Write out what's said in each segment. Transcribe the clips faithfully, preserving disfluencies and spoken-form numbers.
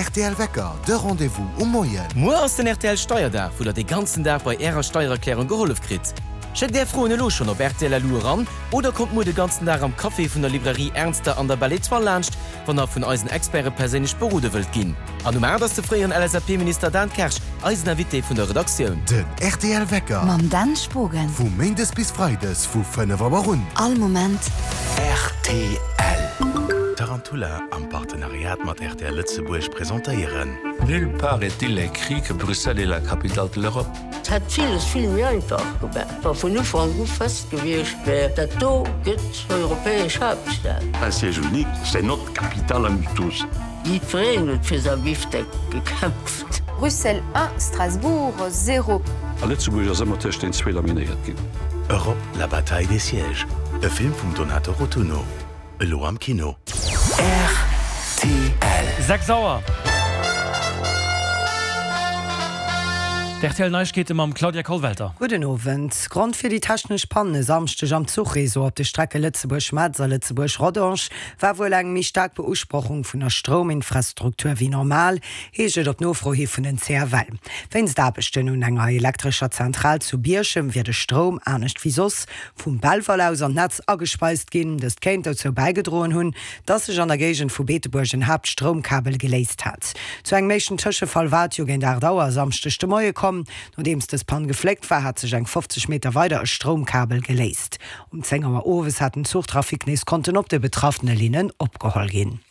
R T L Wecker, de Rendez-vous um Moien. Muer ass den R T L Steierdag, wou der de ganzen Dag bei ärer Steiererklärung gehollef kritt. Schéckt är Froen elo schonn op R T L L U eran oder kommt muer de ganzen Dag am Café vun der Librairie Ernster an der Belle Étoile laanscht, wann der vun eisen Experte perséinlech berode wëllt ginn. An um aacht ass de fréieren L S A P-Minister Dan Kersch eisen Invité vun der Redaktioun. Den R T L Wecker. Mam Dan Spogen. Vu Méindes bis Freides vu fënnef Auer un. All Moment. R T L. Tarantula am Partenariat mat R T L Lëtzebuerg presentéieren. Nulle part est-il écrit que Bruxelles est la capitale de l'Europe. Et hätt villes vill méi einfach gemaach, wa vun Ufank u fest gewiescht wär, dat do gëtt europäesch Haaptstad. Un siège unique, c'est notre capitale à nous tous. Jiddwereen huet fir säi Bifteck gekämpft. Bruxelles un, Strasbourg zéro. A Lëtzebuerg ass ëmmer tëscht den zwee laminéiert ginn. Europe, la bataille des sièges. E Film vum Donato Rotunno. Elo am Kino. R T L. Sechs Auer. D R T L Neiegkeete mam Claudia Kollwelter. Gudden Owend. Grond fir déi technesch Panne e Samschdeg am Zuchreseau op de Strecke Lëtzebuerg-Metz a Lëtzebuerg-Rodange war wuel eng méi staark Beusprochung vun der Strouminfrastruktur wéi normal, heescht et op Nofro hi vun den C F L. Wéinst Aarbechten un enger elektrescher Zentral zu Bierchem wier de Stroum anescht wéi soss vum Belval aus an d'Netz agespeist ginn. Dëst kéint dozou bäigedroen hunn, dass sech an der Géigend vu Beetebuerg en Haaptstroumkabel geléist hat. Zu engem éischten Tëschefall war et jo géint aacht Auer e Samschdeg de Moie komm. Nodeems dës Pann gefléckt war, hat sech eng fofzeg Meter weider e Stroumkabel geléist. Um zéng Auer owes hat den Zuchtrafic nees konnten op de betraffene Linnen opgeholl ginn.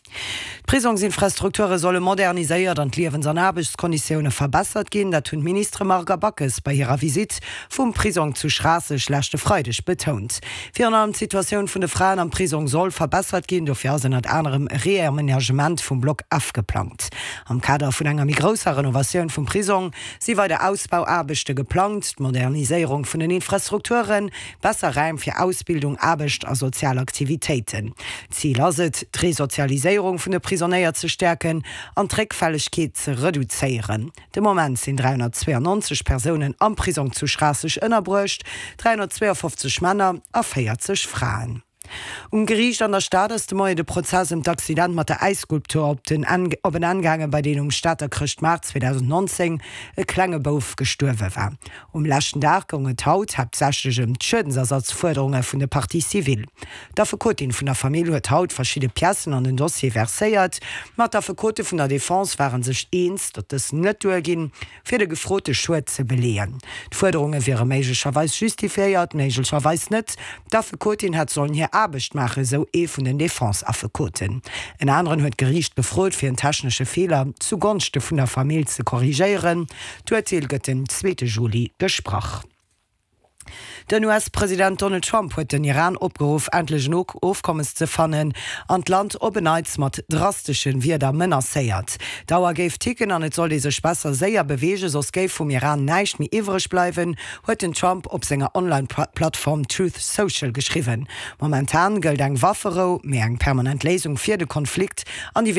D'Prisongsinfrastrukture solle moderniséiert an d'Liewens an Aarbechtskonditioune verbessert ginn. Dat hunn d'Ministere Marc a Backes bei hirer Visitt vum Prisong zu Schraasseg leschte Freideg betount. Virun allem d'Situatioun vun de Fraen am Prisong soll verbessert ginn, dofir ass ënnert anerem e Reamenagement vum Block F geplangt. Am Kader vun enger méi grousser Renovatioun vum Prisong si weider Ausbauaarbechte geplangt, d'Moderniséierung vun den Infrastrukturen, besser Raim fir Ausbildung, Aarbecht a sozial Aktivitéiten. Zil ass et, d'Resozialiséierung vun de Prisonéier ze stäerken an d'Réckfällegkeet ze reduzéieren. De Moment sinn dräihonnertzweeanneonzeg Persounen am Prisong zu Schraasseg ënnerbruecht, dräihonnertzweeafofzeg Männer a véierzeg Fraen. Um Geriicht an der Stad ass de Moien de Prozess ëm d'Accident mat der Äisskulptur op den Enn op en Enn gaangen, bei deem um Stater Chrëschtmaart zweedausendnonzéng e klenge Bouf gestuerwe war. Um leschten Dag goung et haut haaptsächlech ëm d'Schuedensersatzfuerderunge vun de Parties civiles. D'Affekotin vun der Famill huet haut verschidde Piècen an den Dossier verséiert, ma d'Affekote vun der Defense ware sech eens, datt dës net duerginn, fir de gefrote Schued ze beleeën. D'Fuerderunge wiere méiglecherweis justifiéiert, méiglecherweis net. D'Affekotin hätt sollen hir Aarbecht maachen, sou ee vun den Defense-Affekoten. En aneren huet d'Geriicht gefrot, fir en technesche Feeler zu Gonschte vun der Famill ze korrigéieren. D'Urteel gëtt den zweete Juli gesprach. Den U S-President Donald Trump huet den Iran opgeruff, endlech en Ofkommes ze fannen an d'Land op en Neits mat drastesche Wierder menacéiert. D'Auer géif ticken an et sollt ee sech besser séier beweegen, soss géif vum Iran näischt méi iwwereg bleiwen, huet den Trump op senger Online-Plattform Truth Social geschriwwen. Momentan gëllt eng Wafferou, mee eng permanent Léisung fir de Konflikt an déi